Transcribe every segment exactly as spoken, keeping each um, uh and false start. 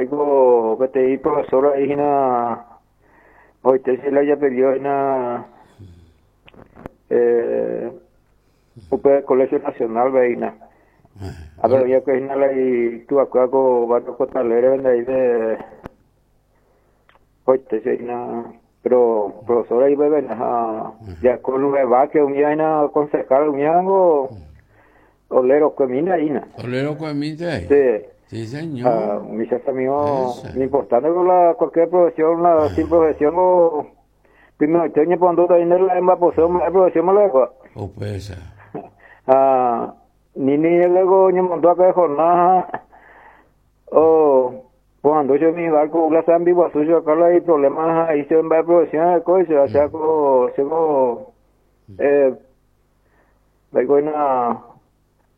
Oiko peteĩ profesora hína oite che la ijapellido hína eh, upe Colegio Nacional hína. A ver, ya que hína la ituakuéra ko barrio Costa Alegre ndaive oite che hína pero profesora ipeve ha ya con Vázquez umi hína concejal umi ngo Olero kuemínte hína. Olero kuemínte. Sí. Sí, señor. Ah, mis amigos, lo importante con la cualquier profesión, la sin profesión o primero yo ñe pondo también la embaposión, la profesión me la O pesa. Ah, ni ni luego ñe montó acá de jornada o cuando yo mi barco la san vivo suyo acá hay problemas ahí se va a profesión de coche, o sea, co se co eh vengo una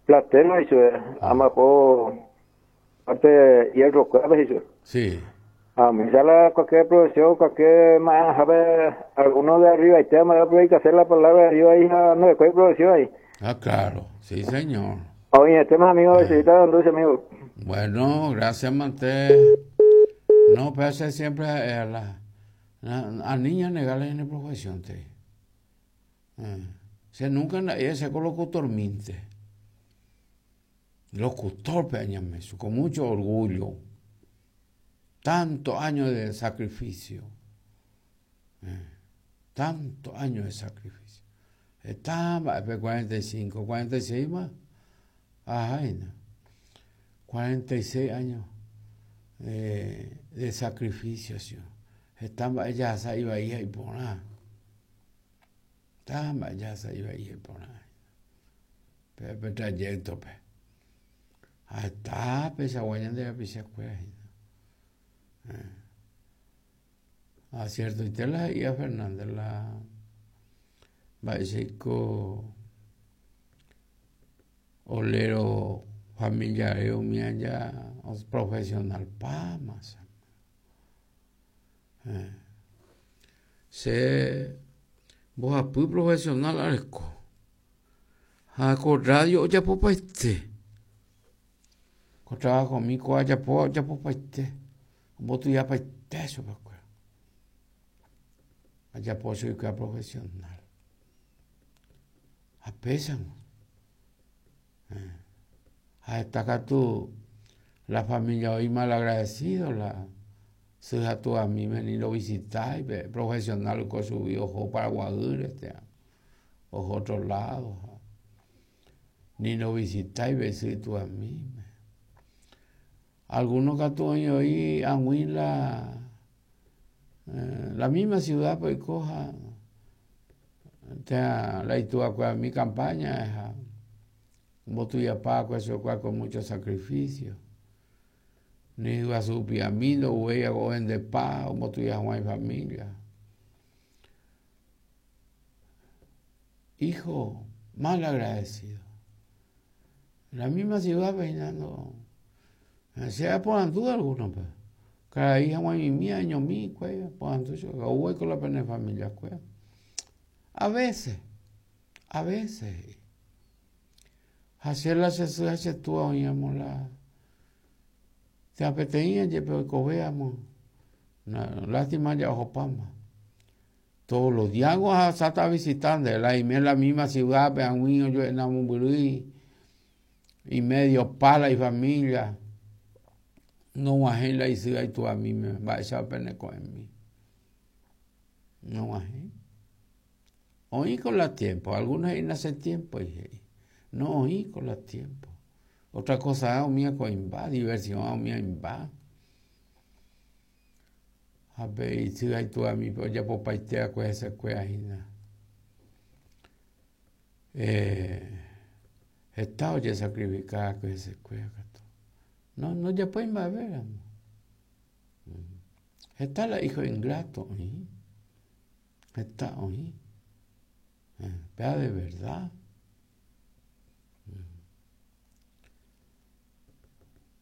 platero y se amapo parte hierro clave eso. Sí. A mí sale cualquier profesión, cualquier más, a ver, alguno de arriba y tema, hay que hacer la palabra de arriba ahí, no, de cualquier profesión ahí. Ah, claro, sí, señor. Oye, este más amigo, ah. Dulce, amigo. Bueno, gracias, Mante. No, pero ese siempre a la, a, a niña negarle en la profesión, te. Eh. Se nunca ella se colocó locutor minte. Locutor, peñame, con mucho orgullo. Tantos años de sacrificio. Eh, tantos años de sacrificio. Estaba cuarenta y cinco, cuarenta y seis más. Ajá, no. cuarenta y seis años eh, de sacrificio. ¿Sí? Estaba ella se iba a ir y por nada. Estaba ella se iba a ir por nada. Pero trayecto, pe. Hasta pesa guañan de la pisa cueva. Ah, cierto, y te la ia Fernández la Baiseco olero familiar mía ya profesional pa más. Eh. Se vos apu profesional arco. Ha ko radio ya popa este. Ko trabajo mi ko ya po ya popa este. Vos tu ya pa este eso pa. Allá puedo ser que profesional. A pesar. A esta tú, la familia hoy mal agradecido, la su tú a mí me ni lo visitáis, profesional con su ojo para Guadur, este, ojo otro lado. Ni lo visitáis, ves tú a mí. Algunos que tú hoy en la Eh, la misma ciudad pues coja la itúa con mi campaña como paco eso con mucho sacrificio ni a su piamino huella goen de paz como tu ya Juan y familia hijo mal agradecido la misma ciudad peinando sea por duda alguna pues. Cada hija mi mía año mi cuello, pues con la pena de familia cuello. A veces, a veces, hacer la se tú oíamos la, te apeteía pero coveamos, lástima ya ojo pama. Todos los días a está visitando, la y en la misma ciudad, pero yo en la y medio pala y familia. No la y y tú a mí me va a echar pene con mí. No ajé. Oí con la tiempo, algunos ahí hace tiempo y no oí con la tiempo. Otra cosa, mía con diversión, mía imba. A ver, y si hay tú a mí, pues ya por paitea con esa cuajina. Eh, está oye sacrificada con ese cuaja. No, no, ya pueden ver. Está la hijo ingrato, ¿eh? Está oí. Vea de verdad.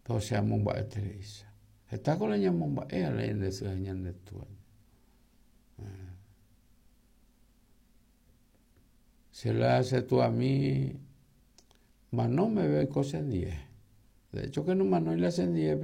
Pero se llama Teresa. Está con la ñamomba, ella le de tu. Se la hace tú a mí, mas no me ve cosas diez. De hecho que no, no le hacen diez, pero